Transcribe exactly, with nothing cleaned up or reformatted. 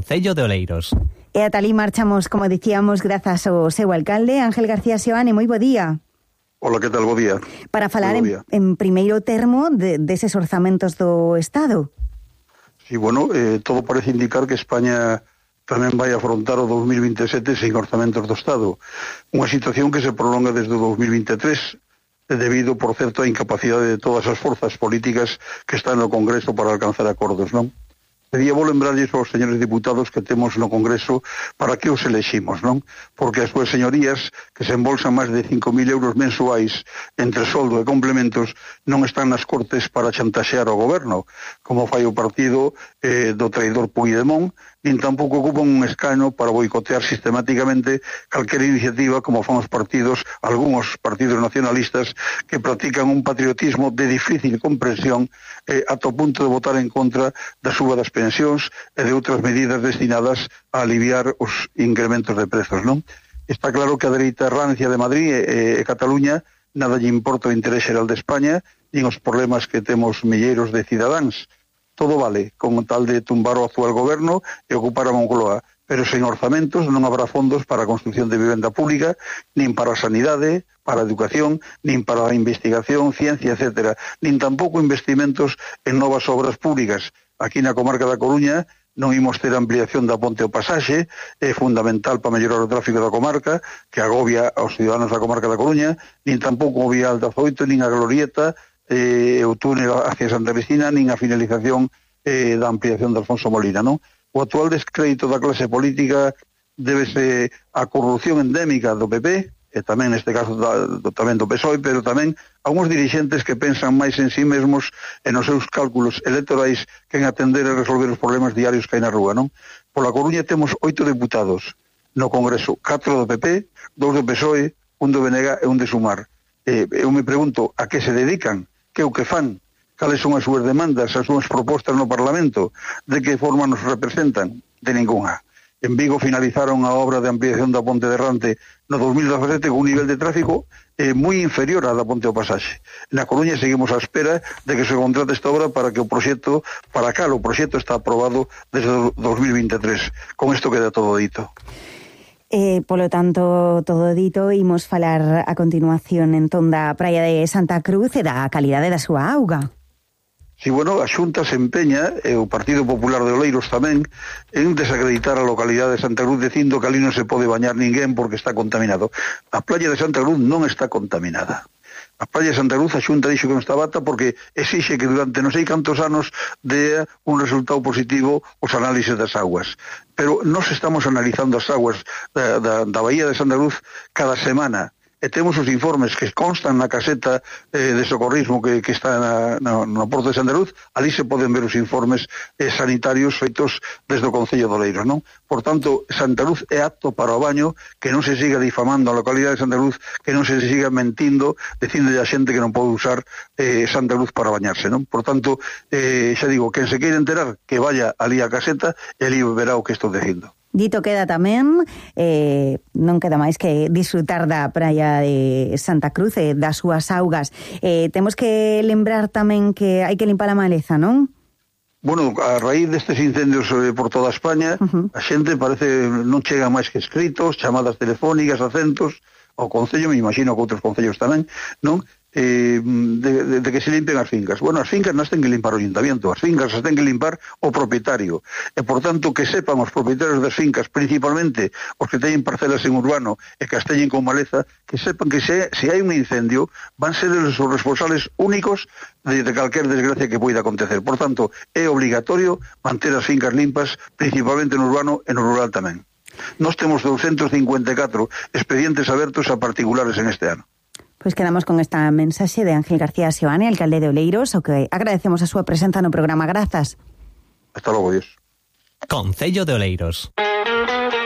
Concello de Oleiros. E ata ali marchamos, como dicíamos, grazas ao seu alcalde, Ángel García Seoane. Moi bo día. Hola, que tal? Bo día. Para falar en, en primeiro termo de, deses orzamentos do Estado. Sí, bueno, eh, todo parece indicar que España tamén vai afrontar o dos mil vinte e sete sen orzamentos do Estado. Unha situación que se prolonga desde o dos mil vinte e tres, debido, por certo, á incapacidade de todas as forzas políticas que están no Congreso para alcanzar acordos, non? Pedía vou lembrarlles aos señores diputados que temos no Congreso para que os eleximos, non? Porque as súas señorías, que se embolsan máis de cinco mil euros mensuais entre soldo e complementos, non están nas Cortes para chantaxear ao goberno, como fai o partido eh, do traidor Puigdemont, nin tampouco ocupan un escano para boicotear sistemáticamente calquera iniciativa como fan os partidos, algúns partidos nacionalistas que practican un patriotismo de difícil comprensión eh, ata o punto de votar en contra da suba das pensións e de outras medidas destinadas a aliviar os incrementos de prezos, non? Está claro que a dereita rancia de Madrid e, e Cataluña nada lle importa o interés xeral de España nin os problemas que temos milleiros de cidadáns. Todo vale, con tal de tumbar o actual goberno e ocupar a Moncloa, pero sen orzamentos non habrá fondos para a construción de vivenda pública, nin para a sanidade, para a educación, nin para a investigación, ciencia, etcétera, nin tampouco investimentos en novas obras públicas. Aquí na comarca da Coruña non imos ter ampliación da ponte ao Pasaxe, é fundamental para mellorar o tráfico da comarca, que agobia aos ciudadanos da comarca da Coruña, nin tampouco o vial da Zoito, nin a Glorieta, eh, o túnel hacia Santa Cristina, nin a finalización eh, da ampliación de Alfonso Molina, non? O actual descrédito da clase política débese á corrupción endémica do P P, e tamén neste caso da, do, tamén do P S O E, pero tamén a uns dirixentes que pensan máis en sí mesmos e nos seus cálculos electorais que en atender e resolver os problemas diarios que hai na rúa, non? Pola Coruña temos oito deputados no Congreso, catro do P P, dous do P S O E, un do B N G e un de Sumar. Eh, eu me pregunto a que se dedican, que o que fan, cales son as súas demandas, as súas propostas no Parlamento, de que forma nos representan, de ninguna. En Vigo finalizaron a obra de ampliación da Ponte de Rante no dos mil dezasete con un nivel de tráfico eh, moi inferior á da Ponte ao Pasaxe. Na Coruña seguimos á espera de que se contrate esta obra para que o proxecto, para cal o proxecto está aprobado desde o dos mil vinte e tres. Con isto queda todo dito. Eh, polo tanto, todo dito, imos falar a continuación entón da praia de Santa Cruz e da calidade da súa auga. Si, bueno, a Xunta se empeña, e o Partido Popular de Oleiros tamén, en desacreditar a localidade de Santa Cruz dicindo que ali non se pode bañar ninguén porque está contaminado. A playa de Santa Cruz non está contaminada. A playa de Santa Cruz, a Xunta dixo que non está bata porque exixe que durante non sei cantos anos dé un resultado positivo os análises das aguas. Pero nós estamos analizando as aguas da, da, da Bahía de Santa Cruz cada semana. E temos os informes que constan na caseta eh, de socorrismo que, que está na, na, no Porto de Santa Cruz. Ali se poden ver os informes eh, sanitarios feitos desde o Concello de Oleiros, non? Por tanto, Santa Cruz é apto para o baño, que non se siga difamando a localidade de Santa Cruz, que non se siga mentindo, dicindo a xente que non pode usar eh, Santa Cruz para bañarse, non? Por tanto, eh, xa digo, quen se queira enterar, que vaya ali a caseta e ali verá o que estou dicindo. Dito queda tamén, eh, non queda máis que disfrutar da praia de Santa Cruz e das súas augas. Eh, temos que lembrar tamén que hai que limpar a maleza, non? Bueno, a raíz destes incendios eh, por toda España, uh-huh. a xente parece non chega máis que escritos, chamadas telefónicas, acentos, ao Concello, me imagino que outros concellos tamén, non? Eh, de, de, de que se limpen as fincas. Bueno, as fincas nas ten que limpar o ayuntamiento, as fincas as ten que limpar o propietario, e por tanto que sepan os propietarios das fincas, principalmente os que teñen parcelas en urbano e que as teñen con maleza, que sepan que se, se hai un incendio van ser os responsables únicos de, de calquer desgracia que poida acontecer. Por tanto, é obligatorio manter as fincas limpas, principalmente no urbano e no rural tamén. Nós temos doscientos cincuenta e catro expedientes abertos a particulares en este ano. Pois quedamos con esta mensaxe de Ángel García Seoane, alcalde de Oleiros, o que agradecemos a súa presenza no programa. Grazas. Hasta logo, Dios. Concello de Oleiros.